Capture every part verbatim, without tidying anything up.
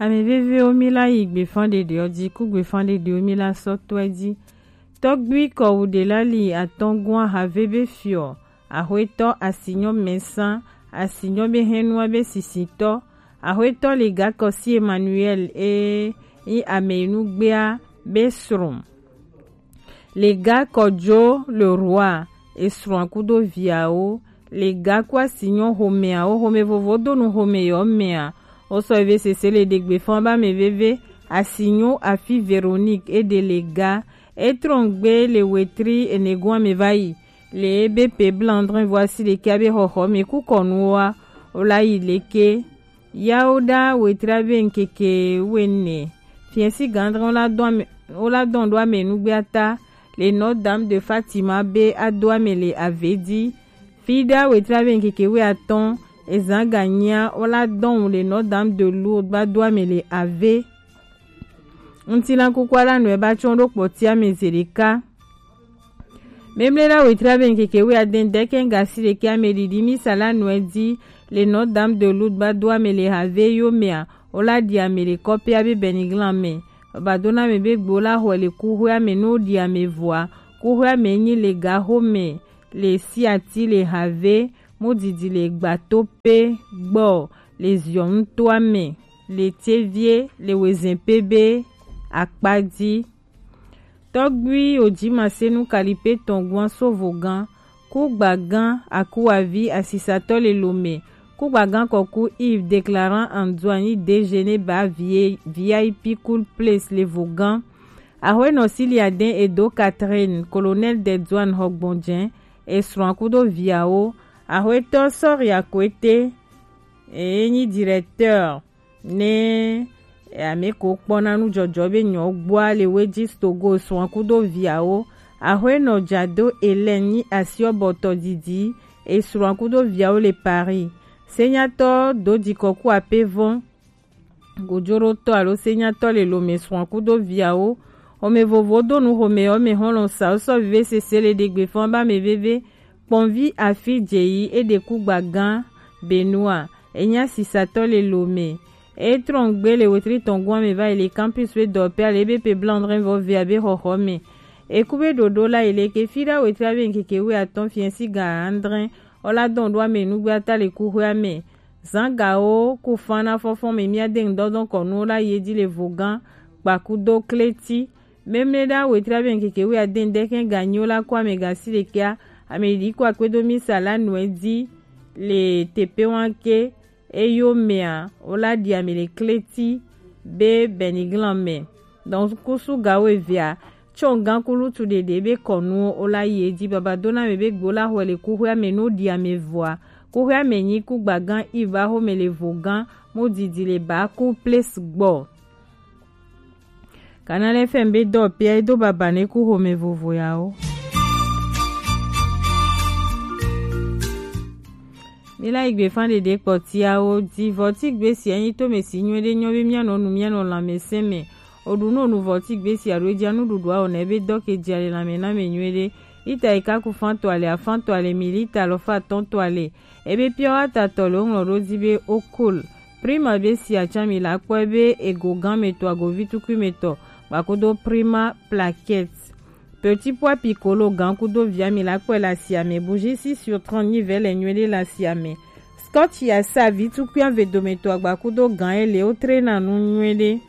Ame vevewo, mi la yi gbefan ɖeɖeɔ ji, ku gbefan ɖeɖewo mi la sɔ tɔɛ ji. Tɔgbui kɔwu ɖe la li atɔn gɔn ahave be fiɔ, ahwetɔ asinyɔ mɛsan, asinyɔ be hɛnua be sisitɔ, ahwetɔ le gakɔsi Emmanuel e yi ame yi nu gbea be srɔn. Lega Kɔjo le Roi, esrɔ̃a kudo viawo. Lega ku asinyɔ homeawo, home vovo do nu home yɔ mea. Wo sɔ eve sese le ɖegbe fɔn ba me veve. Asinyo afi Véronique e de lega. E trɔn gbe le wetri enegoa me va yi. Le ebe pe blandrin voici le kia be xɔxɔ me ku kɔnuwoa. Wo la yi leke. Yawo ɖa wetri ave ŋkeke wene. Fiɛsi gãdrɛ wo la dɔn ame, wo la dɔn ɖo ame nugbe ata le Notre Dame de Fatima be ado ame le ave di. Fi ɖa wetri ave ŋkeke we atɔn ezan ganyia wo la dɔn le Notre Dame de Lourdes ba do ame le ave. Ŋutilan kuku ala nɔe ba tsɔn ɖo kpɔtia me zeɖeka. Memle la wetri ave ŋkeke we adɛn dɛkɛ gasi ɖeke ame ɖiɖi misa la nɔe di le Notre Dame de Lourdes ba do ame le have yo mea, wo la ɖi ame le kɔpe abe bɛniglan me. Baba do na me be gbo la xɔe le kuxwe ame no ɖi ame vɔa. Kuxwe ame nyi le gaxo me, le siati le have, mo didi le gbato pe gbɔ, le ziɔnu to ame, le tievie le wezɛn pe be akpa di. Tɔgbui Ojimasenu Kalipe tɔn gwan so vogan, kugbagan akuavi asisatɔ le lome, kugbagan kɔku Yves déclarant Antoine D G ne ba vie V I P Cool Place le vogan. Ahwenɔ Siliaden Edo Catherine, colonel de douane Hɔgbɔnjɛ, esrɔ̃ kudo viawo. Ahwetɔ Sɔri Akwete, e nyi directeur ne ame ko kpɔna nujɔjɔ be nyɔ gbɔa le Wejis Togo, esrɔ̃ kudo viawo. Ahwenɔ Jado Hélène nyi asiɔbɔtɔ didi, esrɔ̃ kudo viawo le Paris. Senyatɔ do jikɔku apevɔn, gojoɖotɔ alo senyatɔ le lome, srɔ̃ kudo viawo. Xɔme vovo do nu xɔme yɔ me xɔlɔ sa wo sɔ vive sese le ɖegbe fɔn ba me veve. Kpɔnvi afi jeyi e ɖe kugbagan Benoît, enya sisatɔ le lome. E trɔn gbe le wetri tɔn gɔn me va yi le campus be dɔpɛ ale be pe blandrin vɔ via be xɔxɔ me. Eku be ɖoɖo la yi le ke fi ɖa wetri ave ŋkeke we atɔn fiɛsi ga andrin. Wo la dɔn ɖo ame nugbe ata le kuxwe ame. Zangawo ku fan na fɔfɔn me mia de ŋdɔdɔn kɔnuwo la yi edzi le vogan kpakudo kleti. Memle ɖa wetri ave ŋkeke we ade ŋdɛkɛ ganyiwo la ku ame gasi ɖekea, ame ɖi ku akpedo misa la nɔe di le tepe wanke. Eyo mea wo la ɖi ame le kleti be bɛniglan me. Donc kusu gawo evea tsɔ gan kulutu ɖeɖe be kɔnuwo wo la yi edzi. Baba do na me be gbo la xɔe le kuxwe ame no ɖi ame vɔa. Kuxwe ame nyi kugbagan Iva xome le vogan mo didi le ba ku place gbɔ. Canal F M be dɔ pia e do baba ne ku xome vovo yawo. Mi la yi gbe fan ɖeɖe kpɔtiawo di vɔ ti gbe si enyi to me si nyuie ɖe nyɔ be mia nɔ nu mia nɔ lãmesẽ me. Oɖu no nu vɔ ti gbe si aɖo edzi anuɖuɖu awɔ na ebe dɔ ke dzi ale lãme na me nyuie ɖe. Lita yi kaku fan to ale afan to ale mi lita alɔfa atɔn to ale. Ebe pure water tɔ le woŋlɔ ɖo dzi be Okol. Prima be si atsã mi la kpɔe be ego gã me tɔ agovi tukui me tɔ gbakodo Prima plaquette. Petit pois piccolo gã kudo via mi la kpɔe le asia me. Bougie six sur trente nyi vɛ le nyuie ɖe le asia me. Scotch ya sa vi tukui ave dome tɔ agbakudo gã ele wo tre na nu nyuie ɖe.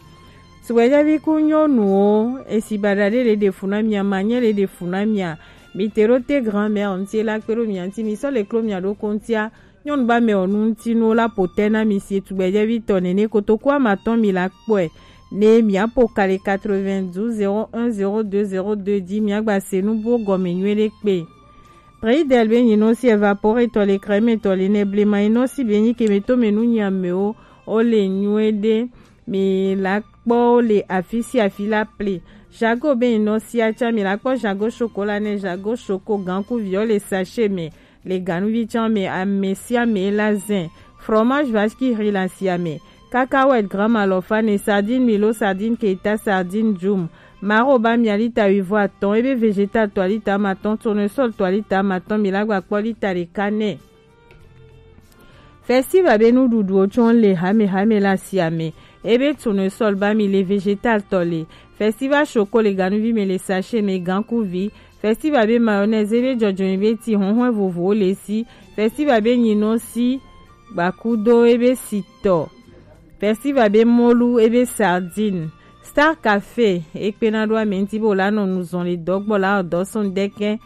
Tugbedzɛvi ku nyɔnuwo, esi baɖa ɖe le ɖe fu na mia, manyɛ le ɖe fu na mia. Mi te ɖo te grand-mère ŋuti la kpe ɖo mia ŋuti, mi sɔ le klo mia ɖokpo ŋutia. Nyɔnu ba me ɔ nu ŋuti nuwo la po te na mi si tugbedzɛvi tɔ nene kotoku amatɔn mi la kpɔe. Ne mia po ka le quatre-vingt-douze zéro un zéro deux zéro deux di mia gba se nu bo gɔme nyuie ɖe kpe. Preidel be nyinɔ si evaporetɔ le crème tɔ le ne blema nyinɔ si be nyi keme to me nu nyi amewo o le nyuie ɖe. Mi la kpɔ wo le afi sia afi la ple. Jago be nɔ sia tsa mi la kpɔ Jago chocolat ne Jago choco gankuviɔ le sachet me le ganuvi tsa me ame sia ame la zin. Fromage vache qui rit la sia me. Cacahuète gramme alɔfa ne sardine milo sardine keita sardine djum. Maro ba mia lita wivɔ atɔn ebe vegetal tɔ lita amatɔn tournesol tɔ lita amatɔn mi la gba kpɔ lita ɖeka nɛ. Festival be nuɖuɖuwo tsɔ le hamehame le asia me. Ebe tournesol ba mi le végétal tɔ le. Festival choco le ganuvi me le sachet me gankuvi. Festival be mayonnaise ebe jɔjɔnyi be ti hɔnhɔn vovowo le si. Festival be nyino si gbakudo ebe sitɔ. Festival be molu ebe sardine. Star Café ekpena ɖo ame ŋuti be wòla nɔ nu zɔn le dɔgbɔ la ɔdɔ sɔn dɛkɛ.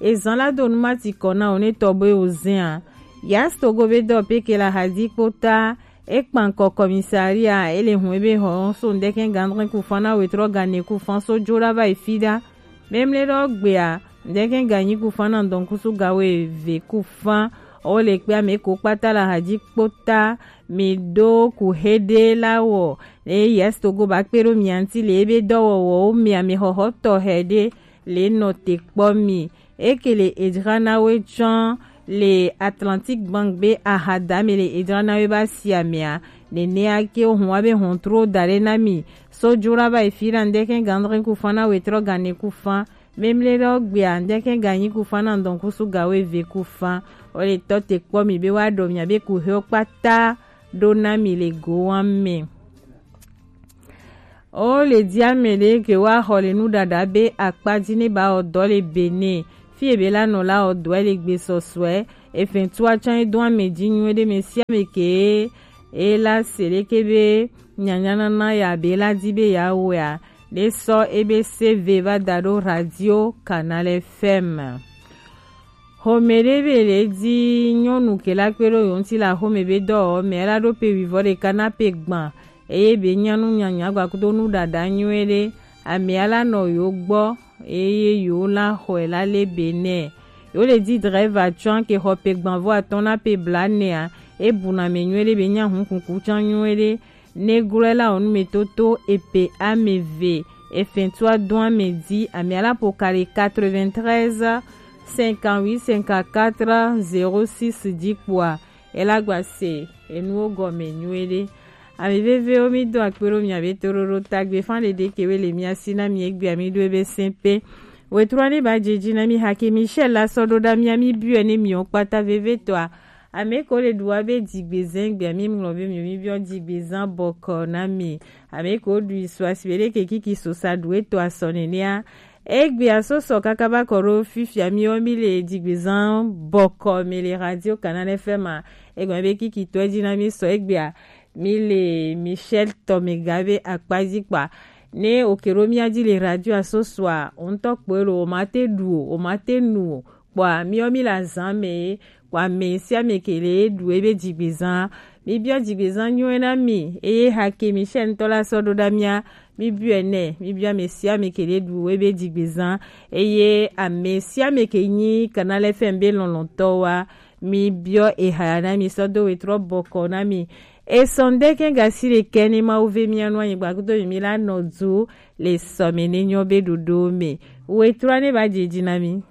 Ezan la do numati kɔ na wò ne tɔ be wò zɛn a. Yas Togo be dɔ peke la hadi kpota. Ekpankɔ kɔmisaria ele hun ebe hɔ so ŋdɛkɛ gandrɛ ku fan na wetrɔ gane ku fan so jo la va yi fi ɖa. Memle ɖɔ gbea ŋdɛkɛ ganyi ku fan na ŋdɔnkusu gawo eve ku fan. Ɔ le kpe ame ko kpata la hadi kpota. Mi ɖo ku heɖe la wɔ. Eye Yas Togo ba kpe ɖo mia ŋti le ebe dɔwɔwɔwo mia mi xɔxɔtɔ heɖe le nɔ te kpɔ mi. Eke le edzra na we tsɔn le Atlantic Bank be ahadame le edzra na we ba si amea. Nenea ke ohun wa be hɔntro da ɖe na mi. So jo la va yi fi ɖa ŋdɛkɛ gandrɛ ku fan na wetrɔ gane ku fan. Memle ɖɔ gbea ŋdɛkɛ ganyi ku fan na ŋdɔnkusu gawo eve ku fan. O le tɔ te kpɔ mi be wa ɖɔ mia be ku he kpata ɖo na mi le go wa me. O le di ame ɖe ke wa xɔ le nuɖaɖa be akpa di ne ba ɔdɔ le Benin. Fi ebe la nɔ la ɔdɔ le gbe sɔsɔɛ. Efɛn tu atsɔn edo ame di nyuie ɖe me si ame ke e la se ɖe ke be nyanyanana ya be la di be ya wea. Ɖe sɔ ebe se ve va da ɖo radio Canal F M. Xɔmɛ ɖe be le di nyɔnu ke la kpe ɖo yo ŋti la xɔmɛ be dɔ ɔ mɛ la ɖo pe wivɔ ɖeka na pe gban. Eye be nyanu nyanya gbakudo nu ɖaɖa nyuie ɖe. Amea la nɔ yo gbɔ eye yo la xɔe la le be nɛ. Yo le di drɛva tsɔn ke xɔ pe gban vɔ atɔn na pe bla nɛa. E bu na mɛ nyuie ɖe be nya hun kuku tsɔn nyuie ɖe. Neglɔe la wɔ numetoto epe ame ve efɛntua dɔn ame di ame ala po kali quatre-vingt-treize cinquante-huit cinquante-quatre zéro six di kpoa ela gba se enuwo gɔme nyuie ɖe. Ame vevewo mi do akpe ɖo mia be toɖoɖo tagbe fan ɖeɖe ke we le mia si na mi egbea mi ɖo ebe sɛnpe. Wetrua ne ba dzedzi na mi hake Michel la sɔ ɖo ɖa mia mi biɔe ne miwo kpata vevetɔa. Ame ko le ɖu wa be dzigbezã gbea mi ŋlɔ be mi mi biɔ dzigbezã bɔkɔ na mi. Ame ko ɖu isu asi be ɖe ke kiki so sa ɖu eto asɔ nenea. Egbea so sɔ kaka ba kɔ ɖo fifia mi wo mi le dzigbezã bɔkɔ mi le radio Canal F M a. Egbe be kiki tɔ edzi na mi sɔ egbea mi le Michel Tomega be akpa dzi kpa. Ne oke ɖo mia dzi le radio asosoa, o ŋutɔ kpɔe lo, o ma te ɖu o, o ma te nu o. Kpɔa miɔ mi le azã me ye kpɔa ame sia ame ke le ɖu ebe dzigbezã. Mi biɔ dzigbezã nyuie na mi eye hake Michel ŋutɔ la sɔ ɖo ɖa mia mi biɔe nɛ. Mi biɔ ame sia ame ke le ɖu ebe dzigbezã eye ame sia ame ke nyi Canal F M be lɔlɔtɔ wa mi biɔ eha ya na mi sɔ do wetrɔ bɔkɔ na mi. Esɔn ɖe kɛ gasi ɖe kɛ ne Mawu ve mia nu anyigba kudo mi mi la nɔ du le sɔme ne nyɔ be ɖoɖo me. Wetrɔ ne ba dzedzi na mi.